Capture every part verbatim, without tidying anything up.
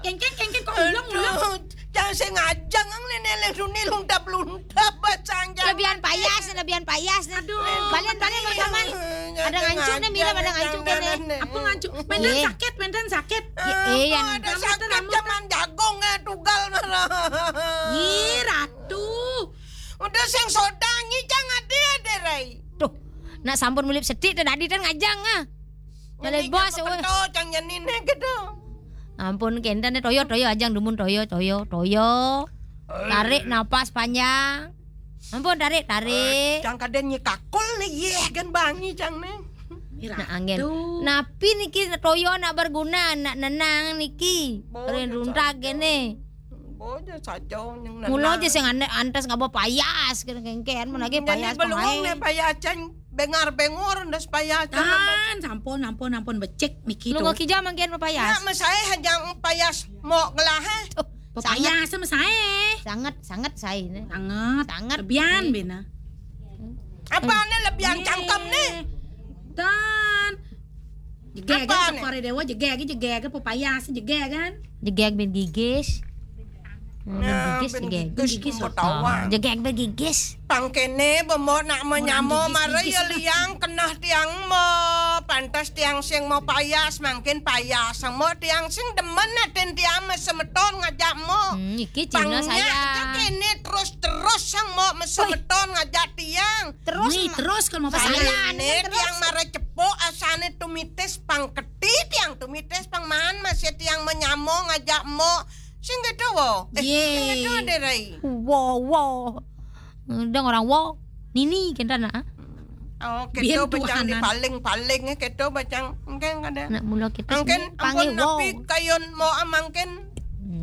Kéngkén, kéngkén, kok ulung, ulung. Aduh, cang sing ngajeng, Néné Lén Suni luntap-luntap, bacang jang. Lebihan payas, lebihan payas. Aduh. Balian, balian, Bang Jamal. Ada ngancu né, Mira, ada ngancu né. Apa ngancu? Méntan sakit, méntan sakit. Ya, eh, yang ada sakit, zaman jagung, eh, tugal marah. Ih, Ratu. Udah sing soda, nyi cang ade, ade, Rai. Duh, nak sampun mulip sedik, té dadi ten ngajeng, ah. Kalau bos, wéh. Cang janiné gitu. Ampun, kénten né toya, toya, ajang dumun toya, toya, toya. Tarik napas panjang. Ampun, tarik, tarik. Cang kadén nyi kakul né, yéh, kan bangi cang né. Nah, anggen. Napi niki toya nak berguna, nak nenang niki. Ren runtak kéné. Bojo saja ning nenang. Mula aja sing ane-, antes ngaba payas, kéné kéngkén, men lagi payas belum né payas cang. Bengar-bengur ndas payas. Kan, sampun, ampun, ampun, becik niki. Lunga kija mangkin payas. Ya, mesaé hajang payas mok gelah, eh. Payas mesaé. Sangat, sangat saé né. Sangat. Sangat. Lebihan bena. Apa né lebihan cangkem né? Dan jegég kan, Cokor Déwa jegég, jegég pepayas jegég kan? Jegég ben gigis. Hmm, ben gigis, jegég. Gigis, ketawa. Jegég ben gigis. Pangkéné bemok nak menyamo mara ya liang kenah tiang mo. Pantes tiang sing mau payas, mangkin payas. Mo tiang sing demen atin tiang mesemeton ngajak mo. Hmm, iki Cina saya. Kéné terus-terus sang mo mesemeton ngajak tiang. Terus. Wih, terus kalau mau payas. Tiang mara cepok asané tumitis pang keti tiang tumitis pang maan masih tiang menyamo ngajak mo. Sing gitu wo. Eh, sing gitu deh, Rai. Wo, wo. Udah orang wo. Nini kita nak. Oh, gitu bacang di paling-paling, eh, gitu bacang. Mungkin ada. Nak mula kita angkin sini ampun panggil napi wo. Kayun mo amangkin.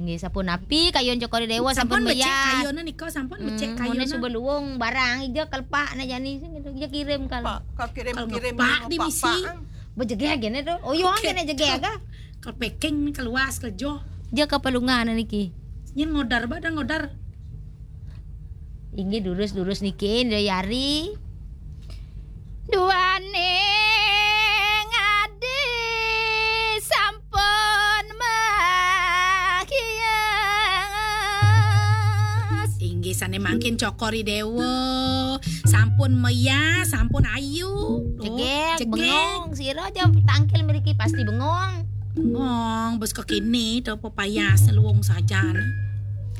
Nggih, sampun napi kayun Cokor Déwa sampun becik meyah. Kayunna nika sampun becik kayunna. Suba luwung barang ija kelepak na jani sing gitu. Ija kirim kal. Pak, ka kirim-kirim ngepak di misi. Bejegé kéné to. Oh, yo kéné jegé aga. Kal packing keluas kejo. Ija ka palungan niki. Nyén ngodar ba ada ngodar. Inggih durus-durus niki Indra Yari. Duaning adi sampun mahias. Inggih sané mangkin Cokor Déwa. Sampun meyas, sampun ayu. Jegég, jegég. Bengong, sira aja tangkil mriki pasti bengong. Bengong, bes kekini to pepayas luwung sajan.